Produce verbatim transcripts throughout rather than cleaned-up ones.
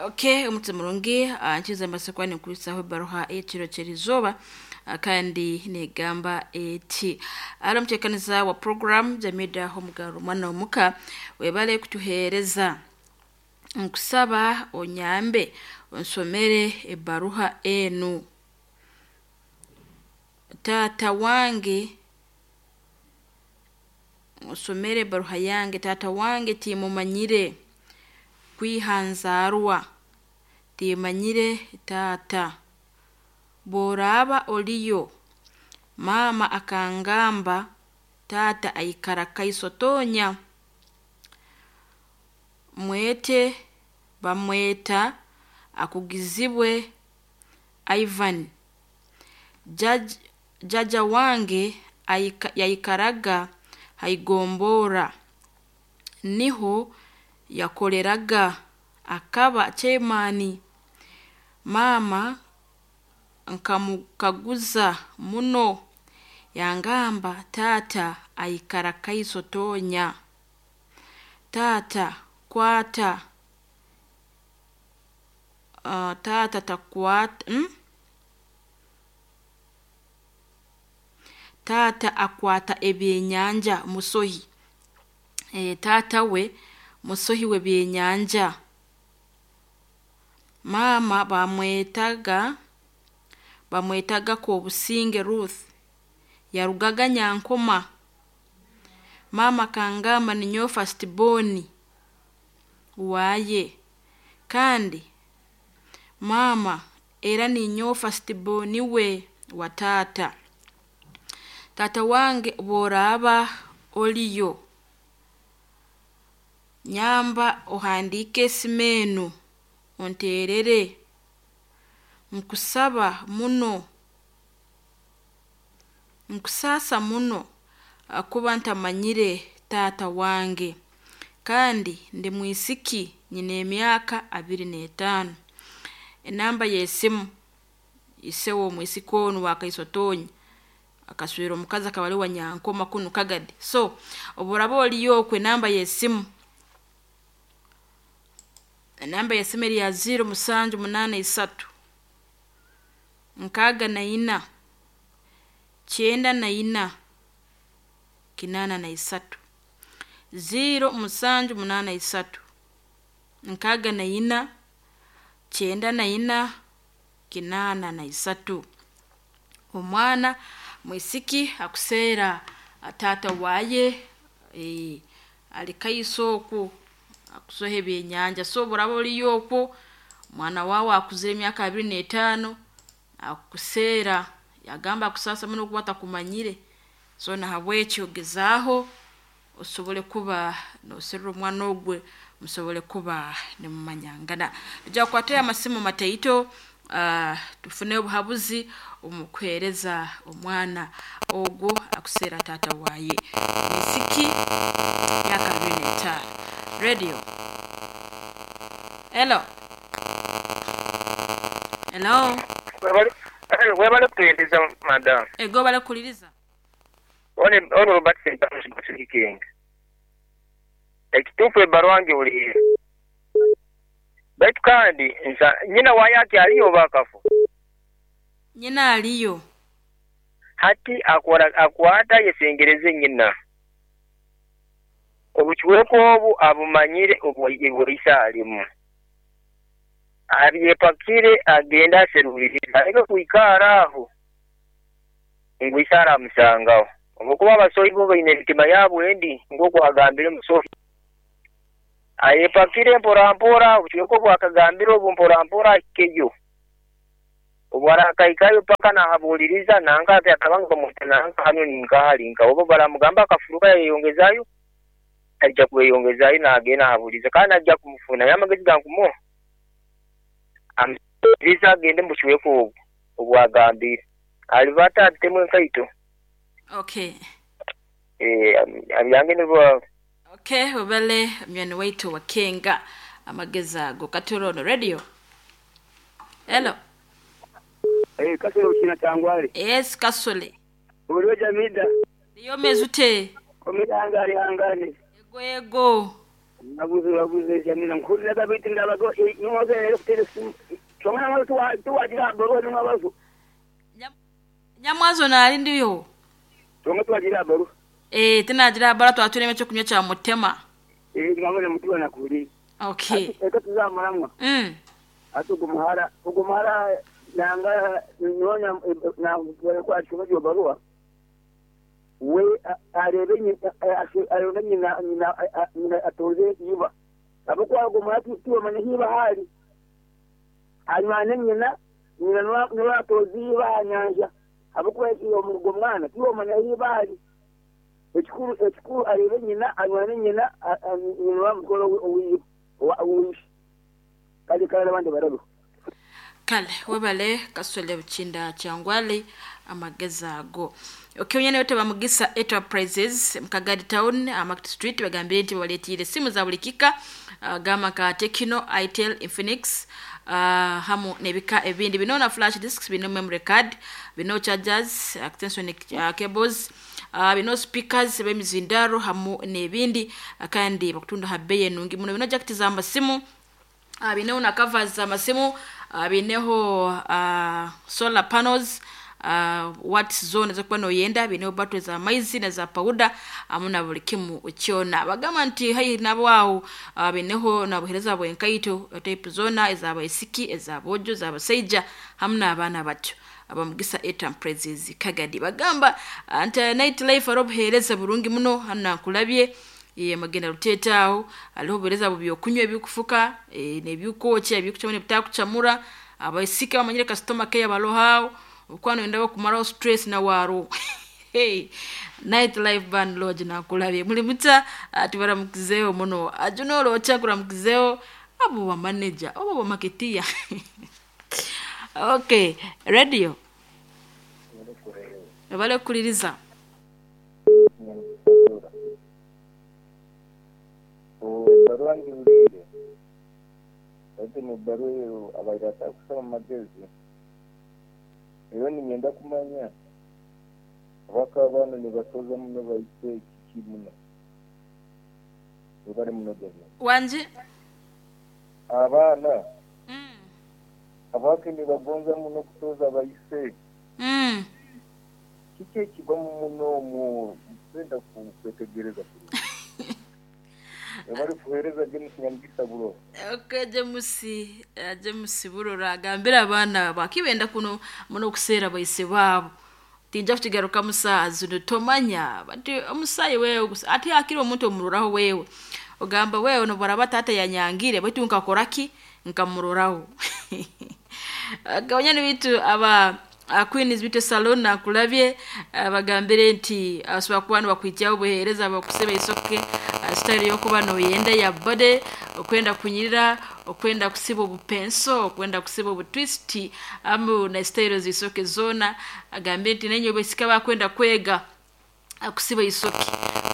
Okay, omuti murungi ah, nkiza mbasa nikuisaho ebaruha ey'ekiro ky'erizooba, ah, kandi negamba eti: "Ari omuteekaniza wa program Jamida Homugaro, mwana omuka, webale kutuheereza. Nkusaba onyambe onsomere ebaruha enu. Taata wange, osomere ebaruha yange. Taata wange timumanyire, kwiha nzaarwa timanyire taata. Bworaaba oliyo, maama akangamba taata aikara Kaiso Tonya. Mwete bamweta akugizibwe Ivan. Jaj, jaja wange aika, yaikaraga haigombora, niho yakoleraga, akaba chairman. Maama nkamukaguza muno, yangamba taata aikara Kaiso Tonya. Taata kwata uh, taata takwata mm? Taata akwata ebyenyanja musohi. E, taata we musohi w'ebyenyanja. Maama bamwetaga bamwetaga Kobusinge Ruth, yarugaga Nyankoma. Maama kangamba ninyowe first born waaye, kandi maama era ninyowe first born we wa taata. Taata wange bworaaba oliyo, nyamba ohandiike esimu enu onterere. Nkusaba muno, nkusaasa muno kuba ntamanyire taata wange, kandi ndi mwisiki, nyine emyaka abiri n'etaano." Enamba y'esimu, ise w'omwisiki onu wa Kaiso Tonya akaswera omukazi akaba ali wa Nyankoma kunu Kagadi. So oburaba oliyo okwo, enamba y'esimu enamba y'esimu eri ya ziro musanju munaana isatu nkaaga na ina kyenda na ina kinaana na isatu, ziro musanju munaana isatu nkaaga na ina kyenda na ina kinaana na isatu. Omwana mwisiki akuseera taata waaye, e, ali Kaiso oku akusoha ebyenyanja. So buraba oliyo okwo, omwana waawe akuzire emyaka abiri n'etaano akuseera, yagamba akusaasa muno kuba atakumanyire. So nahabwekyo gezaaho osobole kuba noserera omwana ogwe, musobole kuba nimumanyangana. Tujja kukwatayo amasimu mataito, uh, tufune obuhabuzi omu kuheereza omwana ogwo akuseera taata waaye, mwisiki myaka abiri n'etaano. Radio, hello, hello. Webale kutuweereza, madamu. Ego, balakuliriza. One ono Robert Sentamu. Ekituufu ebbaluwa ngiwulire, baitu kandi nsa nyina waayo akyaliyo oba akafu? Nyina aliyo. Hati akora akwata yesengereze nyina, obukiweeko obu abumanyire obwaisa alimu, abyepakire agende aserulirize, aleke kwikara aho ngu ise aramusangaho, olwokuba abasohi bo baine emitima yaabo endi. Nk'oku agambire omusohi ayepakire mpora mpora, obukiweeko bwakagambire obu mpora mpora ahikeyo, obu arakahikayo paka nahabuuliriza nanka ati akabanga bamuta nanka hanu ninkahali nka oba baramugamba akafuruka yayeyongezayo, aija kweyongezayo nagenda ahabuuliza kandi ajja kumufuna. Naye amagezi gankumuha, amuiriza agende mubukiweeko obwo obwagambire alibata atemu enkaito. Okay. Eh, abyange nibwo. Okay, webale munywani waitu wakenga amagezi ago. Katorono Radio, hello. Eh, Kasole ukina tangwale. Yes, Kasole. Uliwe Jamida. Niyo mezute. Komihangari hangani. Ego, ego. Nabuze nabuze jamina nkurira gabiti ndabago nyoze rero kutere simu. Chongana mwazo tuwa tuwagira baruha n'mwabazo. Nyamwazo nali ndiyo. Chonga tuwagira baruha. Eh tinagira bara twatureme cyo kunywa cya mutema. Eh ngabone mutiwa nakuri. Okay. Eka tuzamaramwa. Mm. Ati gumuhara gumuhara nanga nyonya na kwa chuma baruha. We arebe nyina arebe nyina nyina nyina atoze yiba abo kwa gumuhara tuwa manya hiba hali. Anywane nyina nyina nwa atoze yiba nyanja. Abo kwa iyo mugo mwana tuwa manya hiba hali. Ekikuru ekikuru arebe nyina anywane nyina nyina wa mukoro owiba owishi. Kali kale abandi barabe. Kale webale kaswele buchinda kyangwale amageza ago. Okay, nyene yote bamugisa Enterprises Mkagadi Town Market Street bagambire nti baletire simu za buli kika uh, gama ka Tecno, Itel, Infinix uh, hamu nebika ebindi bino na flash disks, bino memory card, bino chargers, extension uh, cables, uh, bino speakers bemizindaro hamu nebindi uh, kandi bakutunda habeye nungi muno bino jacket za masimu uh, bino na covers za masimu uh, bineho uh, solar panels uh, watts zone zokuba noyenda bineho battery za maizi na za powder amuna buli kimu kyona bagamba nti hayi nabo awo uh, bineho na buhereza bwenkaito type zona ez'abaisiki ez'abojo ez'abasaija hamu n'abaana bato abamugisa Enterprises Kagadi bagamba nti night life arobuhereza burungi muno hano nkulabye ye magenda ruteta aho aliho buhereza bubyokunywa ebikufuka e, nebyukokya ebikucamura ebitakucamura abaisiki bamanyire customer care balohao ukwano ndabo kumaraho stress na waro. Hey, night life band lodge nakulabye muli muta tubaramukizeyo muno ajuno locha kuramukizeyo abo ba manager abo ba marketeer. Okay, radio bale kuliriza Barua ngiulire ati mu barua eyo abairata kusoma magezi eyo ninyenda kumanya abaka abana nibatoza muno baise kiki muno bari muno gavumenti wanje abaana mm. abake nibagonza muno kutoza baise mm. kiki ekibamu muno mu kwenda kwetegereza kurungi bari kuhereza James Nyamugisa Burora. Okay, James uh, James Burora agambira abaana bakibenda kuno muno kuseera baise baabo tinja kukigaruka musaa zino tomanya bati omusayi wewe ati akiri omuntu omuroraho wewe ogamba wewe nobaraba tata yanyangire baitu nkakoraki nkamuroraho. Gawanyani bitu aba uh, Queen's Beauty Salon nakulabye bagambire nti asobola kuba nibakwijyaho obuheereza bakuseba isoke uh, style yokuba noyenda ya body okwenda kunyirira okwenda kusiba obupenso okwenda kusiba obutwist amu na style zisoke zona agambire nti nenyo besika bakwenda kwega akusiba isoke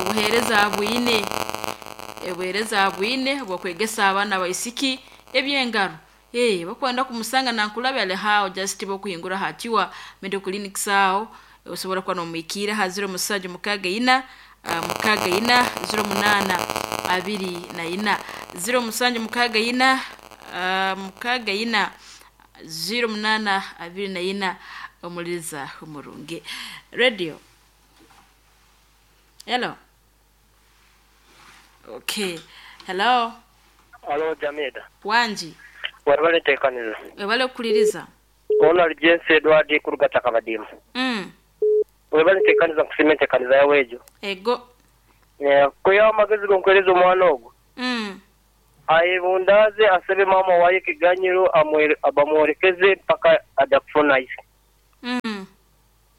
obuheereza bwine obuheereza bwine bwakwegesa abaana baisiki ebyengaro. Eh, bakwenda kumusanga nankulabya ale hao just bokuhingura hakiwa medical clinics aho osobola kuba nomwikira ha zero musajo mukaga ina uh, mukaga ina zero munana abiri na ina zero musanju mukaga ina uh, mukaga ina zero munana abiri na ina omuliza umurungi radio. Hello. Okay. Hello. Hello Jamida. Wanji. Wabale tekaniza. Wabale kuliriza. Ona James Edward kurugata kabadimu. Mm. Wabale tekaniza kusimenta kaniza yawejo. Ego. Yeah, kuya magezi gonkwereza omwana ogwo. Mm. Ayebundaze asebe mama waye kiganyiro amwere abamworekeze mpaka adakufuna ise. Mm.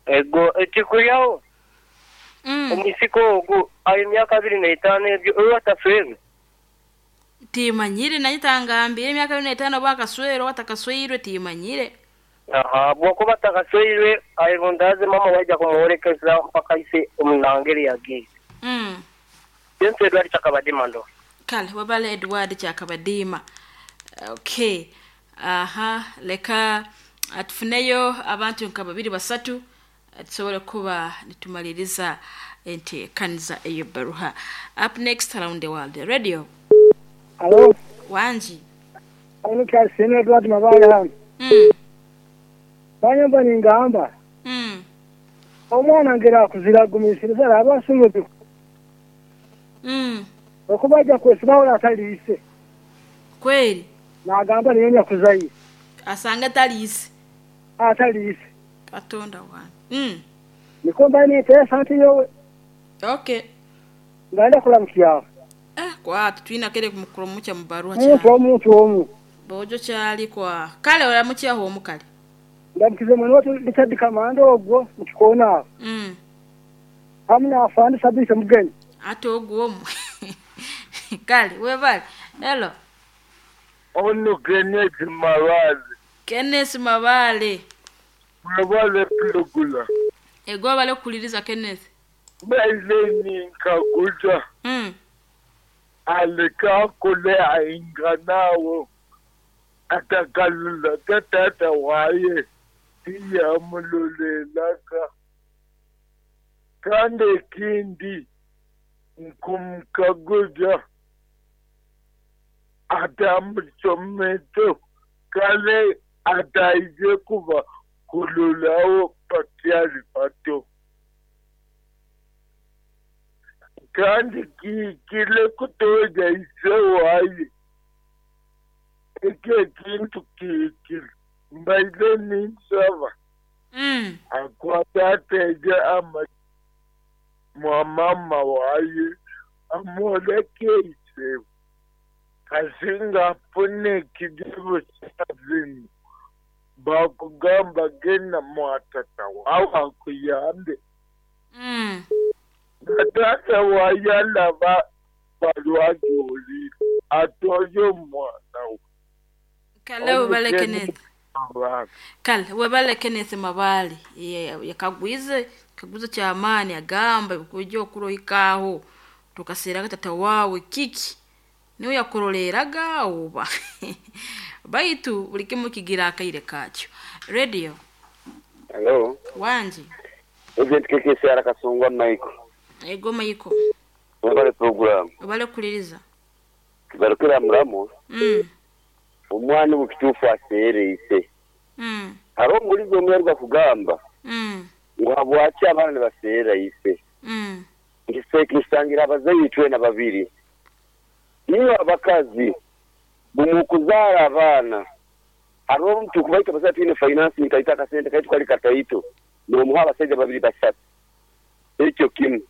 Ego ekikuyaho. Mm. Omusiko ogwo ayo myaka abiri n'etaano ebyo oyo ataswere. Timanyire naye tangambire emyaka abiri n'etaano bakaswere watakasweirwe timanyire. Aha, bwokuba atakasweirwe ayebundaze mama waija kumworekeza mpaka ise omunangeri yagiye. Mm. James Edward Chakabadima ndo. Kale wabale Edward Chakabadima. Okay. Aha, leka atufuneyo abantu nka babiri basatu tusobole kuba nitumaliriza enteekaniza eyo baruha. Up next, Around the World Radio. Alo, Wangi. ano kyasene Edward Mabale hano. Mm. Banyamba ningamba. Mm. Omwana ngera kuzira gumisiriza araba asomye. Mm. Okuba ajja kwesibawo ataliise. Kweli Nagamba niyo nyakuzayi asanga taliise. Ataliise. Katonda wange. Mm. Niko mbaye niteesa nti yowe Okay. ngenda kulamukyawo. Eh, kwatu twina kere kumukuromukya mu baruwa Omuntu cyane. omuntu omu. Bojo cyali kwa. Kale oramukyaho omukale. Ndamukize mwene watu Richard Kamando ogwo mu kikoona aho. Mm. Hamu n'afande Sabise Mugenyi. Ate ogwo omwe. Kale webale. Hello. Ono Kenneth Mabale, Kenneth Mabale. Mabale Pulogula. Ego bale kuliriza Kenneth. Baile ninkaguza Mm. aleka kule ainganawo atakalula katata waye tiyamulolelaka kandi ekindi nkumkaguza atamusometo kale ataije kuba kululawo pakyali bato kandi kihikire kutoja ise waye ekyo ekintu kihikire mbaire ninsaba Mm. akwate ateje ama mwa mama waye amwoleke ise kasinga afune ekizibu kyazinu bakugamba genda mwatata wawe akuyambe Mm. natata wayalaba balwajulire atoye omwana we Kale webale Kenneth. Abaana. Kale webale Kenneth Mabale. Ye- Yakagwize kagwize kyamaani agamba kujja okurohikaho tukaseraga tata wawe kiki niwe yakuroleraga oba baitu buli kimu kigira akaire kakyo. Radio Hello. wangi. Agent K K C R Kasungwa Michael. Ego Maiko. Webale program. Obale kuliriza. Tugarukira muramu. Mm. Omwana obukituufu aseereise. Mm. Hariho omubulizi omwe aruga kugamba Mm. ngu habwaki abaana nibaseera ise. Mm. Nkisangira abazaire twena babiri. Niwe abakazi bumukuzaara abaana hariho omuntu kubaita abazaire twine finance kaita akasente kaitu kali kataito nomuha abasajja babiri basatu ekyo kimu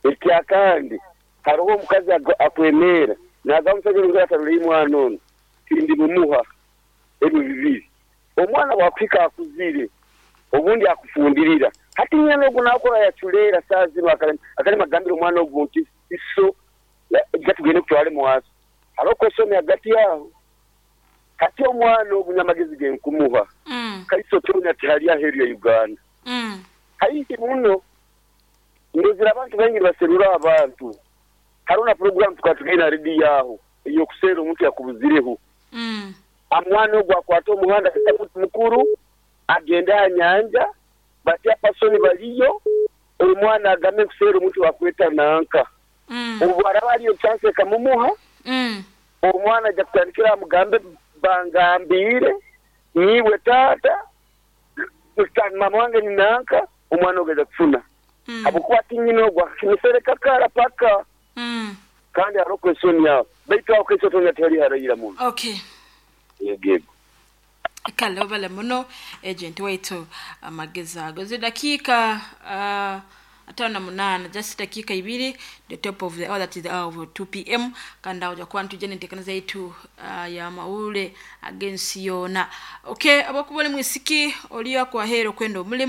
ekyakandi hariho omukazi ago- akwemeera nagamba omusajja ono atarora mwana ono tindi mumuha ebyo bibiri omwana bwakuhika akuzire obundi akufundirira hati nyana ogu nakora yaculeera saa zino akali akali magambira omwana ogu nti iso gatugende kutwale mwaso hariho kwesomya hagati yaho hati omwana ogu nyamagezi genkumuha Mm. kaiso tonya tihali aheru ya Uganda Mm. haihi muno ndozira abantu baingi baserura abantu hariho na program tukatugenda redi yaho eyokuseera omuntu yakubuzireho Mm. amwana ogwo akwata omuhanda muntu mukuru agende aha nyanja batya pasoni baliyo omwana agambe kuseera omuntu wakweta nanka Mm. obu araba ariyo chance ekamumuha Mm. omwana ajja kutandikira amugambe bangambiire niiwe taata mama wange ni nanka omwana ogwo aja kufuna Mm. habwokuba ti nyina ogwo akakimusereka kara paka Mm. kandi hariho kwesoni aho baitu aho kaiso tonya tihali harayira muno. Okay. Yego yego. Kale obale muno agent waitu amagezi ago zidakiika uh, atano na munaana, just dakiika ibiri the top of the hour, that is the hour of two p m, kandi awo jakuba ntujja nenteekaniza yaitu uh, ya mawulire ag'ensi yoona. Okay, abakuba oli mwisiki oliyo akwaheera okwenda omulimu.